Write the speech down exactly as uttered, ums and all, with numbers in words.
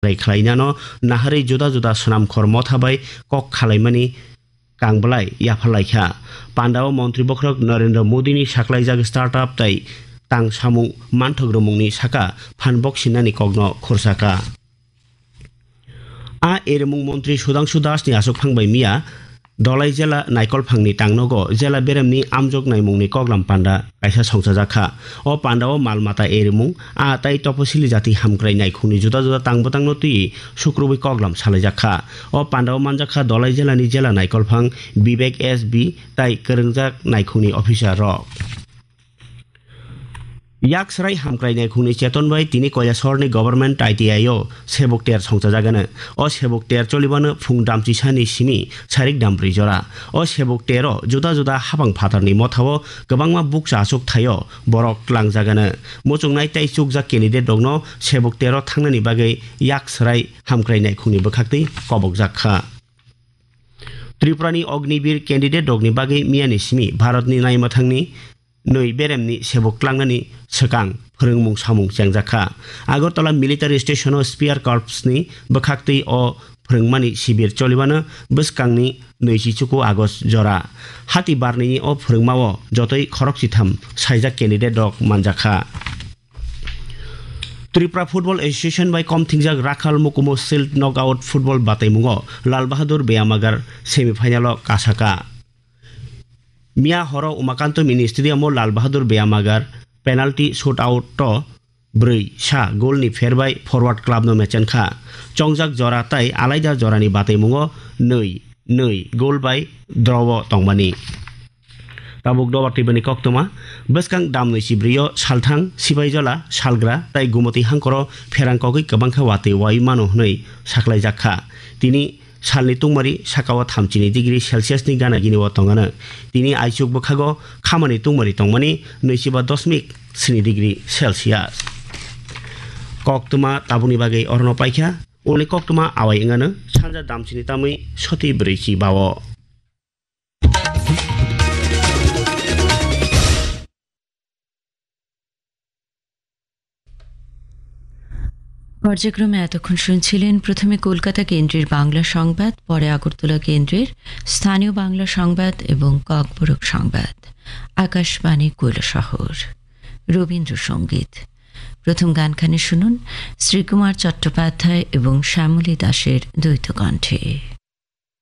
khlainano naharwi juda juda swnamkhor motha bai kok khalaimani kang belai yapharlaikha. Pandao montri bokhorok Narendra Modini saklaijak startup tei tang samung manthok rwmungni saka phan boksinnani kokno khursakha. A erimung montri Sudhangshu Das ni aswk phang bai miya Dolai jela Naikolphangni tangnogo jela beremni amjok naimungni koklam panda kaisa songchajakha. O pandao mal mata erimung, a tai toposili jati hamkrai naikhungni juda juda tang bwtangno twiwi sukrubwi koklam salaijakha. O pandao manjakha Dolai jelani jela Naikolphang Vivek S B tai kwrwngjak naikhungni officer rok. Yak srai hamkrai naikhungni cheton bai tini Koilasorni Government I T I o sebuk ter songchajagano. O sebuk ter cholibano phung damchisani simi sarik dambrwi jora. O sebuk tero juda juda habang phatarni mothao kwbangma bukcha aswk thaio borok tlangjagano. Muchungnai tei chukjak candidate rokno sebuk tero thangnani bagwi yak srai hamkrai naikhungni bwkhaktwi kobokjak kha. Tripurani Ognibir candidate rokni bagwi miyani simi Bharatni naimwthangni nwi beremni sebuk tlangnani swkang phwrwngmung samung chengjak kha. Agartala Military Station-o Spear Corps-ni bwkhaktwi o phwrwngmani sibir cholibano bwskangni nwichi chuku August jora. Hati barnini o phwrwngmao jotoi khorokchitham saijak candidate rok manjakha. Tripura Football Association bai komthingjak Rakhal Mukumu Shield Knockout Football bataimungo Lal Bahadur Beyamagar semi final-o kasaka. Miya horo Umakanto Mini Stadium-o Lal Bahadur Beyamagar penalty shootout-o brwi sa goal-ni pher bai Forward Club-no mechenkha. Chongjak jora tai alaida jorani bataimungo nwi nwi goal bai draw-o tongmani. Tabuk dobar twibani koktwma, bwskang damnwi chibrwi-o Salthang, Sibaijala, Salgra tai Gumoti hangkoro pherang kogwi kwbangkha watwi wai mano hwnwi saklaijak kha. Tini salni tungmari sakao thamchini degree Celsius-ni gana gini-o tongano. Tini aichuk bwkhago khamani tungmari tongmani nwichiba dosmik sini degree Celsius. Koktwma tabukni bagwi orono paikha, uni koktwma awai wngano sanja damchini tamwi soti brwichi bao. পর্যায়ক্রমে এতক্ষণ শুনছিলেন প্রথমে কলকাতা কেন্দ্রের বাংলা সংবাদ, পরে আগরতলা কেন্দ্রের স্থানীয় বাংলা সংবাদ এবং ককবরক সংবাদ। আকাশবাণী কৈলাসহর। রবীন্দ্রসঙ্গীত। প্রথম গানখানি শুনুন শ্রীকুমার চট্টোপাধ্যায় এবং শ্যামলী দাসের দ্বৈত কণ্ঠে।